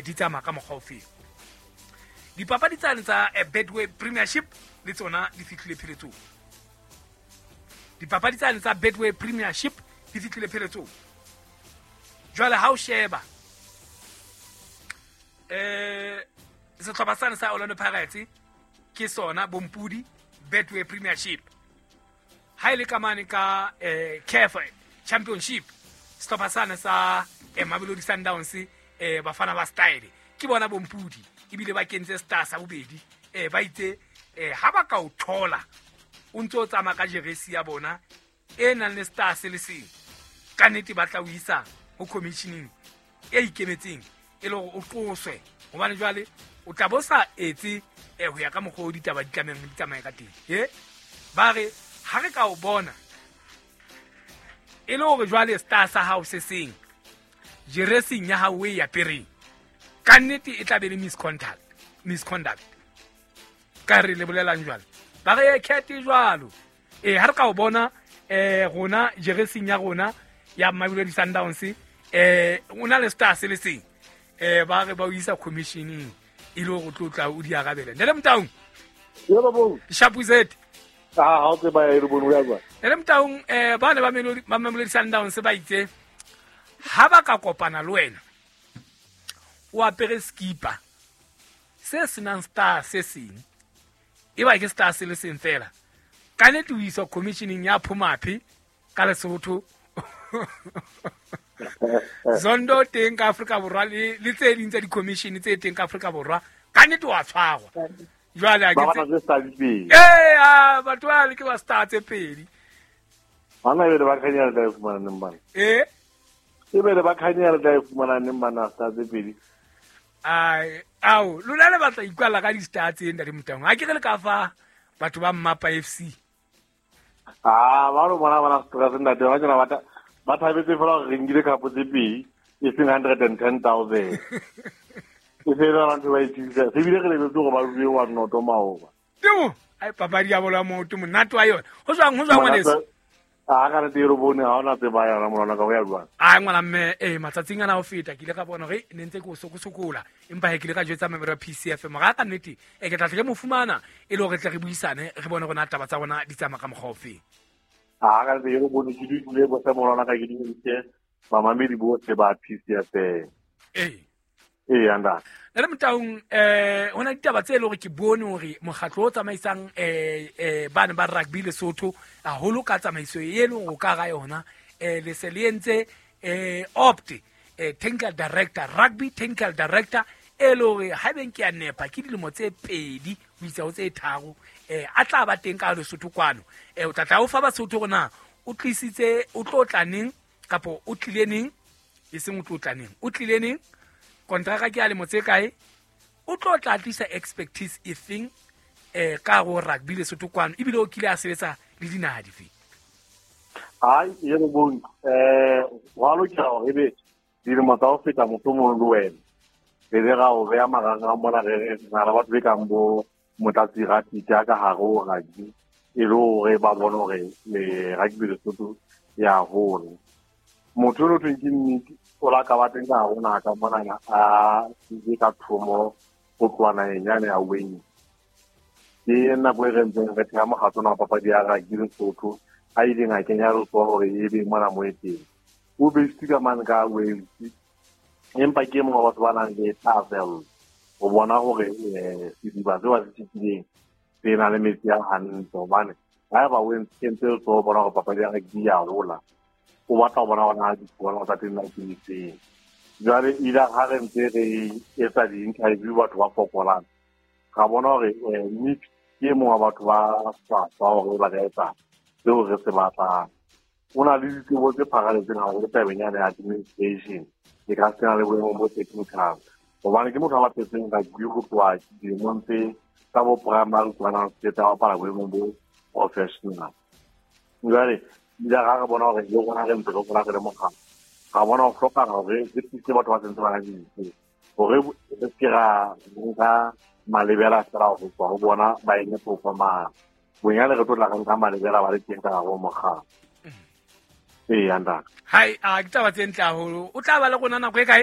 di tsamaya ka mokgwa ofeng. Dipapadi tsane tsa Betway Premiership le tsona di fihlile pheletsong. Dipapadi tsane tsa Betway Premiership di fihlile pheletsong. Jwale ha o sheba sehlopha sane sa Orlando Pirates ke sona bompudi Betway Premiership. Ha ile ka mane ka CAF Championship, sehlopha sane sa Mamelodi Sundowns, Bafana ba Style ke bona bompudi, ebile ba kentse star sa bobedi. Ba itse ha ba ka o thola o ntse o tsamaya ka jeresi ya bona e nang le star se le seng, ka nnete ba tla o isa ho commissioning e ikemetseng e le hore o qoswe, hobane jwale o tla bo sa etse ho ya ka mokgwa o ditaba di tlamehang di tsamaye ka teng. Ba re ha re ka o bona e le hore jwale star sa hao se seng jeresing ya hao e apereng, ka nnete e tla be le misconduct. Ka re le bolelang jwale, ba re khethe jwalo. Ha re ka o bona rona jeresing ya rona ya Mamelodi Sundowns, o na le star se le seng, ba re ba o isa commissioning e le hore o tlo tla o di arabela. Ntate Motaung. Yebo bo. Shapuzet. Ah, ha o tseba e re bone o ya jwang. Ntate Motaung, ba ne ba Mamelodi Sundowns ba itse ha ba ka kopana le wena o apere skipa se senang star se seng, e ba ke star se le seng fela, ka nnete o iswa commissioning ya Phumaphi ka Lesotho. Zondo teng ka Afrika Borwa le tse ding tsa di-commission tse teng ka Afrika Borwa, ka nnete wa tshwarwa. Jwale a ke batho ba le ke ba star tse pedi. Bana e ba khanyela tla e fumana neng bana? E be ba khanyela tla e fumana neng bana star tse pedi? Ai, ao, lona le batla ikwalla ka di-star tse ntate Motaung. Ha ke re le ka fa batho ba Mmapa FC. Ah, ba ro bona bana stress ntate, ba tsena ba thabetse fela gore re nkile khapo tse pedi, e seng 110,000. E fela ntho ba itsisa. Se bile re lebetse gore ba rue wa noto maoba. Temo, ai papadi ya bolo ya maoto monate wa yona. Ho jwang ngwaneso? A ka re tiro bone ha ona tseba ya ngwana ka ho ya jwang. Ai ngwana mme, matsatsing ana ho feta ke ile ka bona hore ne ntse ke o sokosokola, empa he ke ile ka jwetsa member ya PCFM ga ka nnete ke tla tle ke mo fumana e le hore tle re buisane re bone rona taba tsa rona di tsamaya ka mokgwa ofe. A ka re tiro bone ke dule bo se morona ka ke dule mamamedi bohle ba PCFM. Anda. Ntate Motaung, ho na ditaba tse leng hore ke bone hore mokgatlo o tsamaisang bana ba rugby Lesotho haholo ka tsamaiso e leng ho ka ga yona, le se le entse opt technical director, rugby technical director e le hore ha beng ke a nepa ke dilemo tse pedi ho isa ho tse tharo, a tla ba teng ka Lesotho kwano. O tla tla o fa Basotho hore na o tlisitse o tlo tla neng kapa o tlile neng, e seng o tlo tla neng, o tlile neng, kontraka ke ya lemo tse kae, o tlo tla tlisa expertise e feng ka go rugby Lesotho kwano, ebile o kile a sebetsa le dinaha dife? Hai, e re bone, wa lokela hore ebe dilemo tsa ho feta mohlomong le wena re be ra o beha marangrang mona, re na le batho be kang bo Motlatsi Ratiti ka hare ho rugby, e le hore ba bone hore rugby Lesotho ya hola. Motho o thweng ke nnete o la ka ba teng ka hare ho naha ka monana, a ile ka thomo ho tloha naheng yane ya Wayne. Ke nako e re ntseng re theha mokgatlo ona wa papadi ya rugby Lesotho, a ileng a kenya letsoho hore e be mona mo e teng. O based ka mane ka Wales, empa ke mongwe wa batho ba nang le thahasello ho bona hore sediba seo ba se tshepileng se na le metsi a hantle, hobane haeba o kentse letsoho ho bona hore papadi ya rugby ya hola, o batla ho bona hore na ditholwana tsa teng na ke difeng. Jwale ile ha re ntse re etsa di-interview batho ba fokolang, ra bona hore Nick ke e mong wa batho ba hlwahlwa hore ba ka etsa seo re se batlang. O na le ditsebo tse pharaletseng haholo tabeng yane ya administration, e ka se na le boemong bo technical, hobane ke motho a bapetseng rugby ho tloha dilemong tse tsa bo primary kwana tse tsa bapala boemong bo professional. Jwale ile ra re bona hore le rona re ntse re hola re le mokgatlo, ra bona ho hlokahala hore re thuse batho ba sentse ba na le dithuto, hore re se ke ra nka malebela fela ho tswa ho bona ba eme performance. Bonyane re tlo tla re nka malebela ba le teng ka hare ho mokgatlo. Anda. Hai, a ke taba tse ntle haholo. O tla ba le rona nako e kae?